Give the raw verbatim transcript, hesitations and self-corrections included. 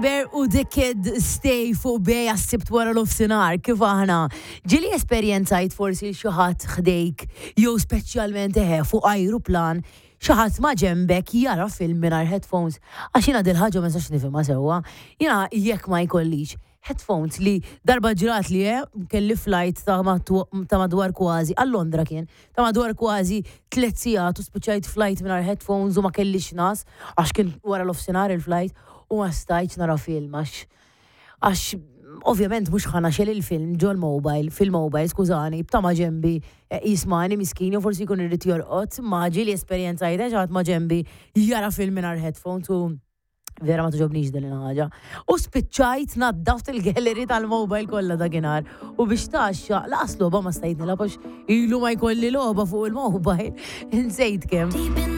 Bear u The Kid Stay fuq Bay għas-Sibt wara nofsinhar, kif aħna? Ġieli esperjenzajt forsi xi ħadd ħdejk jew speċjalment eħe fuq ajruplan, xi ħadd ma ġembek jara film mingħajr headphones? Għax jiena dil-ħaġa ma nistax nifhimha sewwa. Jiena jekk ma jkollix headphones, li darba ġrat li eh, kelli flight ta' ta' madwar kważi, għal Londra kien, ta' madwar kważi tliet sigħat u spiċċajt flight mingħajr headphones u ma kellix nas, għax kien wara nofsinhar il-flight u ma stajtx nara film għax għax ovvjament mhux ħa nixgħel il-film ġol mobile, fil-mobile, skużani, b'ta' ma ġembi eh, jismani miskin, u forsi jkun irid jorqod, ma ġieli esperjenzajt xi ħadd ma ġembi jara film mingħajr headphones u vera ma togħġobnix din il-ħaġa. U spiċċajt naddaft il-gallery tal-mobile kollha dakinhar. U biex taxxa, lanqas logħba ma stajt nilgħab għax ilu ma jkolli logħba fuq il-mobile. Insejt kemm.